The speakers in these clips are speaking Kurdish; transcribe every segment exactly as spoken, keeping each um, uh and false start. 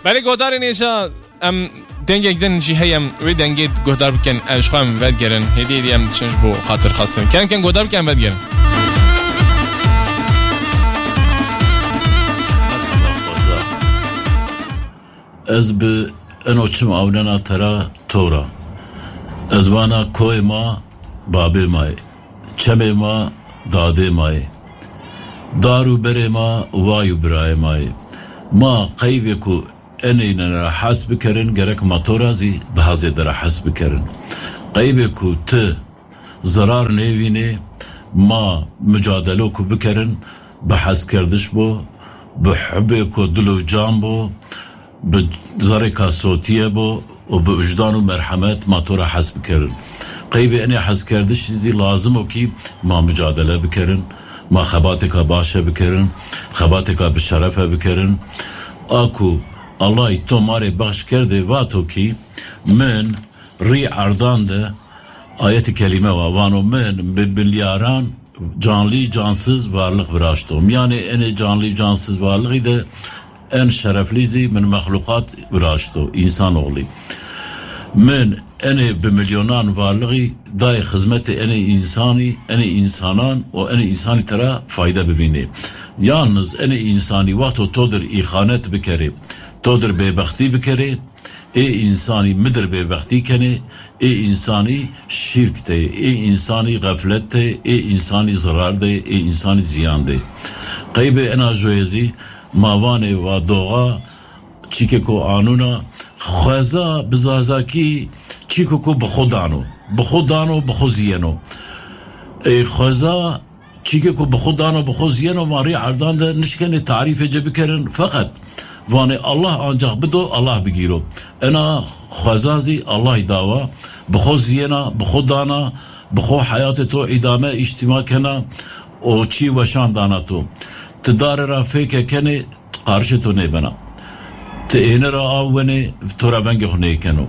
Belê godarên hêja em dengek din jî heye, em wê dengê guhdar bikin, em ji xwe em vedigerin. Hêdî hêdî em diçin ji bo xatirxwestin. Kerem kin guhdar bikin, em vedigerin. Ez bi eno çim awnena tera tora. Ez vana koyê ma babê ma yê. Çemê ma dadê ma yê. Dar û berê ma way û birayê ma yê. Ma qeybê ku enê ne re hes bikerin, gerek ma tora zî daha zêde re hes bikerin. Qeybê ku ti zerar nêvînê, ma mucadelo ku bikerin, bi heskerdiş bo, bi hubê ku dil û can bo, bi zerrêka sotiye bo û bi wijdan û merhemet ma tora hes bikerin. Qeybê enê heskerdişî zî lazim o kî ma mucadele bikerin, ma xebatêka baş e bikerin, xebatêka bi şeref e bikerin. A ku Allahî to ma rê bexş kerdê vato kî min rî erdan de ayetî kelîme wa vano min bi milyaran canlî cansiz varlix viraşto. Miyanê enê canlî cansiz varlixî de en şereflî zî min mexluqat viraşto, însanoxlî. Min enê bi milyonan varlixî dayê xizmetê enê însanî, enê însanan û enê însanî tera fayde bivînê. Yalniz enê însanî wexto to dir îxanet bikerê, to dir bêbextî bikerê, ê însanî midir bêbextî kenê, ê însanî şîrk tê, ê însanî xeflet tê, ê însanî zirar dê, ê însanî ziyan dê. Qeybê ena joyê zî ma vanê wa doxa, çîkê ku anûna, xweza bi zazakî çîko ku bi xwe dano. Bi xwe dano, bi xwe ziyeno. Ê xweza çîkê ku bi xwe dano, bi xwe ziyeno, ma rî erdan de nişkenê tarîfê ci bikerin. Feqet vanê Allah ancak bido, Allah bigîro. Ena xweza zî Allahî dawa, bi xwe ziyena, bi xwe dana, bi xwe heyatê to îdame îştîma kena û çî weşan dana to. Ti dare ra fêke kenê, qarişê to nêbena. Ti êne ra aw wenê, to ra vengê xwe nêkeno.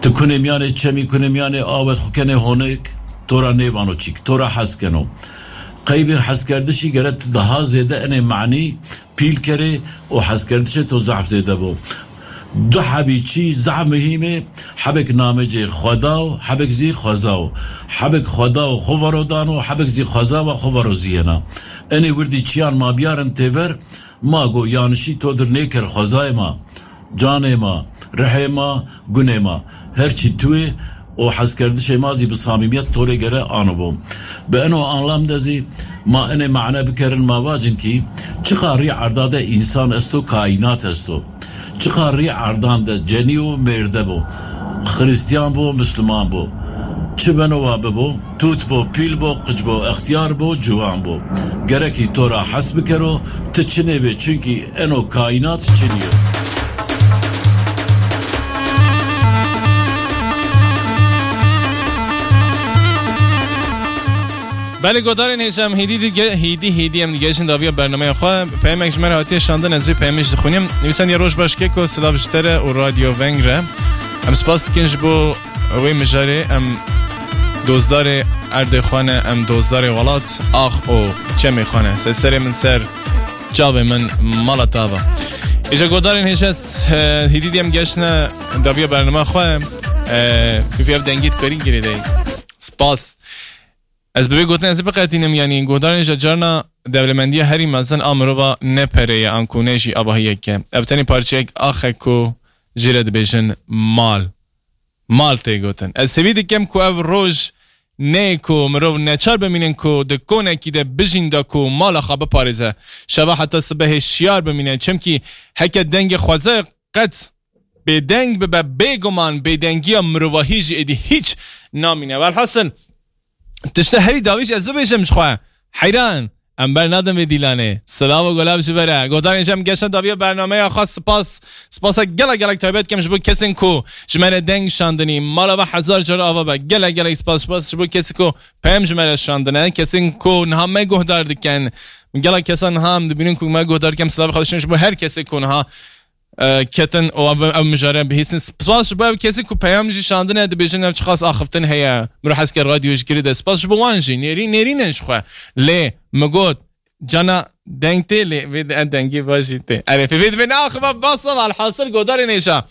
Ti kunê miyanê çemî, kunê miyanê awe xwe kenê honek, to ra nêvano çîk, to ra hes keno. Qeybê heskerdişî gere ti daha zêde enê manî pîl kerê û heskerdişê to zehf zêde bo. Du hebî çî zehf muhîm e, hebek namecê xweda û hebek zî xweza û hebek xweda û xwe vero dan û hebek zî xweza ve xwe vero ziyena. Enê wirdî çiyan ma biyarin têver, ma go yanişî to dir nêker xwezayê ma, canê ma, rihê ma, gunê ma. Her çî tu yê û hezkerdişê ma zî bi samîmiyet to rê gere anibû. Bi eno anlam de zî ma enê mane bikerin, ma vacin kî çiqa rî erda de însan esto, kaînat esto. Çiqa rî erdan de cenî û mêrde bo, xiristiyan bo, misliman bo. Çi beno wa bibo, tût bo, pîl bo, qic bo, extiyar bo, ciwan bo. Gerekî to ra hes bikero, ti çinê bê, çunkî eno kaînat çinî yo. Belê godarên hêşem, hêdî dige-, hêdî, hêdî em digeşin daviya bernameya xwe. Peyemek ji me re hatiye şandin, ez vê peyemê jî dixwînim. Nivîsand ya: Roj baş keko, silav ji te re û Radyo Veng re. Em spas dikin ji bo wê mijarê, em dozdarê erdê xwe ne, em dozdarê welat, ax û çemê xwe ne. Ser serê min ser, çavê min mala tava. Îja godarên hêşes, e, hêdî diyem geşne daviya bernama xwe, e, fîfî ev dengî dikarî girêdeyî. Spas. Ez bi vê gotin ez ê biqetînim, yanî godarên ji carna dewlemendiya herî mezin a mirova ne pere ye, anku ne jî avahiyek e. Ev tenê parçeyek ax e ku jê re dibêjin mal. Mal tê gotin. Ez hêvî dikim ku ev roj neyê ku mirov neçar bimînin ku di konekî de bijîn da ku mala xwe biparêze. Şeva heta sibehê şiyar bimîne. Çimkî heke dengê xwezayê qet bêdeng bibe, bêguman bêdengiya mirovahî jî êdî hîç namîne. Welhasil, tişta herî dawî jî ez bibêjim ji xwe. Heyran, em bernadin vê dîlanê. Silav û gulav ji we re. Godarên ji em geşin daviya bernameya xwe, spas. Spasa gelek gelek taybet dikim ji bo kesên ku ji me re deng şandinî. Mala ve hezar cara ava be. Gelek gelek spas, spas ji bo kesê ku peyam ji me re şandine. Kesên ku niha me guhdar dikin. Gelek kesan niha em dibînin ku me guhdar dikin. Silav xwe dişin ji bo her kesê ku niha e, ketin û ev, ev mijare bihîstin. Spas ji bo ev kesî ku peyam jî şandine, dibêjin ev çiqas axiftin heye. Miro Hesker Radyo ji girî de. Spas ji bo wan jî. Nêrî-, nêrîn in ji xwe. Lê min got, Cana deng tê lê vê de dengê baş jî tê. Erê, pê vê divê neaxiva basa ve, alhasil godarên hêşa.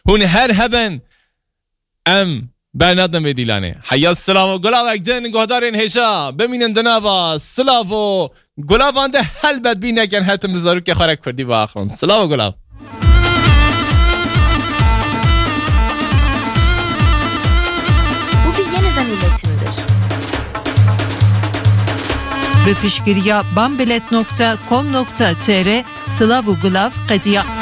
Hûn her hebin, em bernadin vê dîlanê. Heya silav û gulavek din godarên hêşa. Bimînin di nava silav û gulavan de, helbet bîr nekin hetin bi zarokê xwe re kurdî biaxivin. Silav û gulav. Bu bir yeniden üretimdir. Bi piştgiriya bambilet nokta com nokta tr, Silav û Gulav qediya.